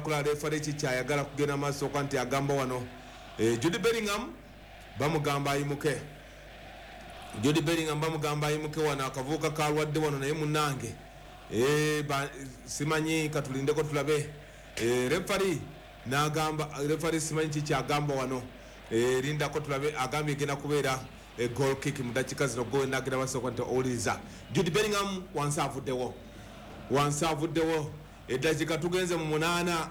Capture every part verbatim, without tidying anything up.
Kula referee kikyayagala kugenda maaso kwa nti agamba wano e, Jude Bellingham bamugamba ayimuke. Jude Bellingham bamugamba ayimuke wano, akavuka kalwadde wano naye munnange e, simanyi katulindeko tulabe. E, referee n'agamba, referee simanyi kikyagamba wano e, lindako tulabe. Agambye egenda kubeera e, goal kick mu dakiika zino. Goal nagenda maaso nti owuliriza Jude Bellingham wansi avuddewo, wansi avuddewo. Eddakiika tugenze mu munaana.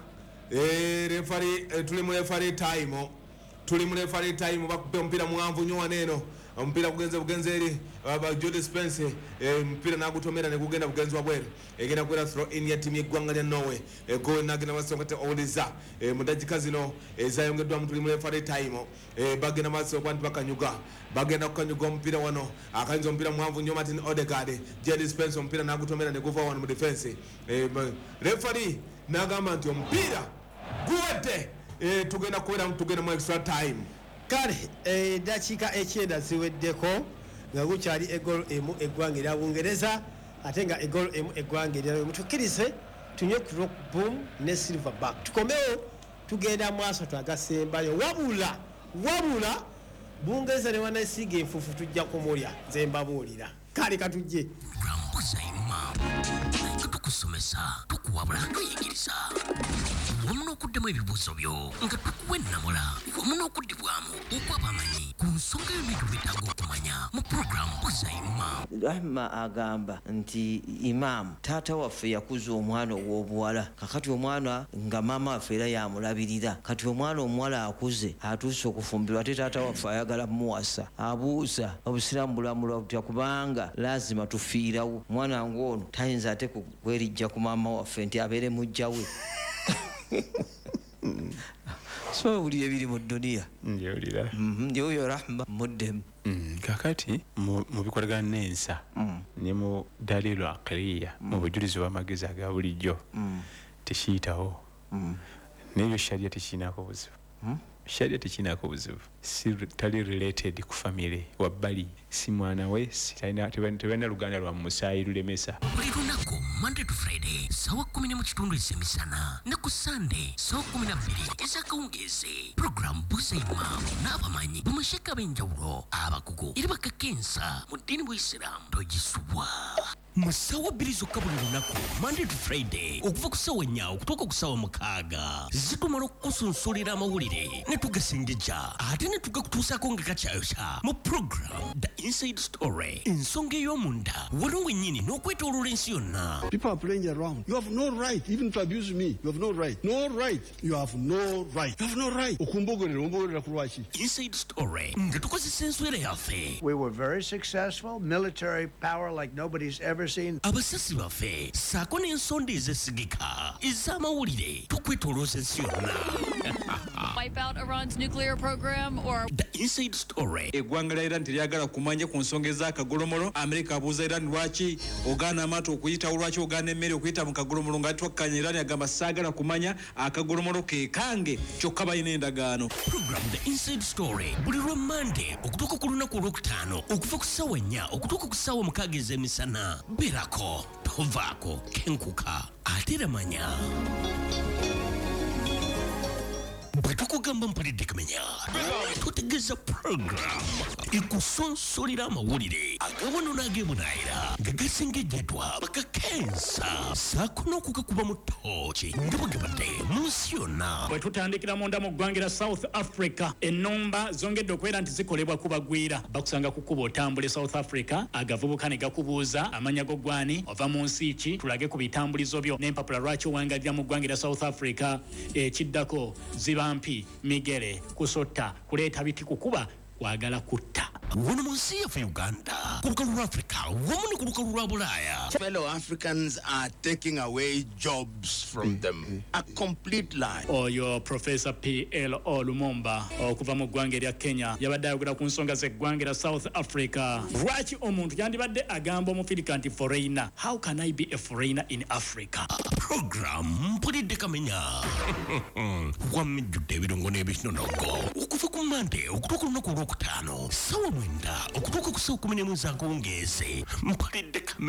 e, referee e, tuli mu referee time, tuli mu referee time. Bakube omupiira muwanvu nnyo wano eno, omupiira gugenze bugenze eri Jude Spence, omupiira n'agutomera ne gugenda bugenzi wabweru. Egenda kubeera throw in ya ttiimu y'eggwanga lya Norway. Goal nagenda maaso nga owuliriza mu dakiika zino ezayongeddwamu, tuli mu referee time. Bagenda maaso okuba nti bakanyuga, bagenda kukanyuga omupiira wano. Akanyuza omupiira muwanvu nnyo Martin Odegaard. Jude Spence omupiira n'agutomera ne guva wano mu defense. Referee n'agamba nti omupiira guwedde, tugenda kubeera tugenda mu extra time. Kale eddakiika ekyenda ziweddeko nga gukyali egolo emu eggwanga erya Bungereza, ate nga egolo emu eggwanga erya. Mutukkirize tunywe ku Rock Boom ne Silverback, tukomewo tugenda mu asatu agasembayo. Wabula wabula Bungereza ne wanasiiga enfuufu tujja kumulya, nze mbabuulira. Kale katujje nga tukusomesa, tukuwabula, tuyigiriza wamu n'okuddamu ebibuuzo byo, nga tukuwa ennamula wamu n'okuddibwamu okw'abamanyi ku nsonga yonna gy'obeetaaga okumanya mu puroguramu Buuza Imam. Rahma agamba nti imaamu taata waffe yakuza omwana ow'obuwala, kakati omwana nga maama waffe era yamulabirira. Kati omwana omuwala akuze atuuse okufumbirwa, ate taata waffe ayagala muwasa. Abuuza obusiraamu bulamulwa butya, kubanga lazima tufiirawo omwana ng'ono tayinza ate kwerijja ku maama waffe nti abeere mujja we. So buli ebiri mu dduniya njewulira yoyo Rahma muddemu. Kakati mu bikolagana n'ensa ne mu dalilu aqliya, mu bujulizi bw'amagezi aga bulijjo tekiyitawo, n'ebyo sharia tekirinako buzibu. Sharia tekirinako buzibu, si tali related ku family wabbali, si mwana we, tebalina luganda lwa musaayi lulemesa. Buli lunaku Monday to Friday sawa kumi n'emu kitundu ez'emisana ne ku Sunday sawa kumi na bbiri ez'akawungeezi, puroguramu Buuza Imam n'abamanyi bamasheka ab'enjawulo abakugu era bakakensa mu ddiini bw'Isiraamu togisubwa mu ssaawa bbiri zokka buli lunaku Monday to Friday okuva ku ssaawa nnya okutuuka ku ssaawa mukaaga. Zitumala okukusunsulira amawulire ne tugasengejja ate ne tugakutuusaako nga kakyayokya mu program The Inside Story, ensonga ey'omunda wano wennyini n'okwetooloola ensi yonna. People are playing around. You have no right even to abuse me. You have no right. No right. You have no right. You have no right. Okumbogolera, ombogerera ku lwaki? Inside Story nga tukozesa enswera yaffe. We were very successful, military power like nobody's ever seen. Abasasi baffe ssaako n'ensonda ezesigika ez'amawulire tukwetoolooza ensi yonna. Wipe out Iran's nuclear program or The Inside Story. Eggwanga lya Iran teryagala kumanya ku nsonga ez'akagolomolo. Amerika abuuza Iran lwaki ogaana amaato okuyitawo, lwaki ogaana emmere okuyita mu kagolomolo, nga twakkanya. Iran agamba saagala kumanya, akagolomolo ke kange, kyokka balina endagaano. Program The Inside Story buli lwa Monday okutuuka ku lunaku olwokutaano okuva ku ssaawa nnya okutuuka ku ssaawa mukaaga ez'emisana. Beerako tovaako, kenkuka ate era manya. Bwe tukugamba mpulidde kamenya, tutegeeza program ekusonsolera amawulire agawano n'ag'ebunaayira nga gasengejjeddwa bakakensa ssaako n'okugakuba mu ttooki nga bwe gabadde mu nsi yonna. Bwe tutandikira munda mu ggwanga lya South Africa, ennumba zongedde okubeera nti zikolebwa ku bagwira. Bakusanga ku kkubo otambula e South Africa, agavubuka ne gakubuuza amanya go gwani, ova mu nsi ki, tulage ku bitambulizo byo n'empapula lwaki owangalira mu ggwanga lya South Africa. Ekiddako ziba mpi, migere, kusotta, kuleeta biti, kukuba, kwagala kutta. Wano mu nsi yaffe Uganda, ku lukalu lwa Africa wamu ne ku lukalu lwa Bulaaya. Fellow Africans are taking away jobs from them. A complete lie. Oyo Professor P L O Lumumba okuva mu ggwanga erya Kenya yabadde ayogera ku nsonga z'eggwanga erya South Africa. Lwaki omuntu yandibadde agamba omufirika nti foreigner? How can I be a foreigner in Africa? Program Mpulidde Kamenya wamijjudde ebirungo n'ebinonogo okuva ku Monday okutuuka olunaku olwokutaano ssaawa mwenda okutuuka ku ssaawa kumi n'emu ez'akawungeezi. Mpulidde Kamenya.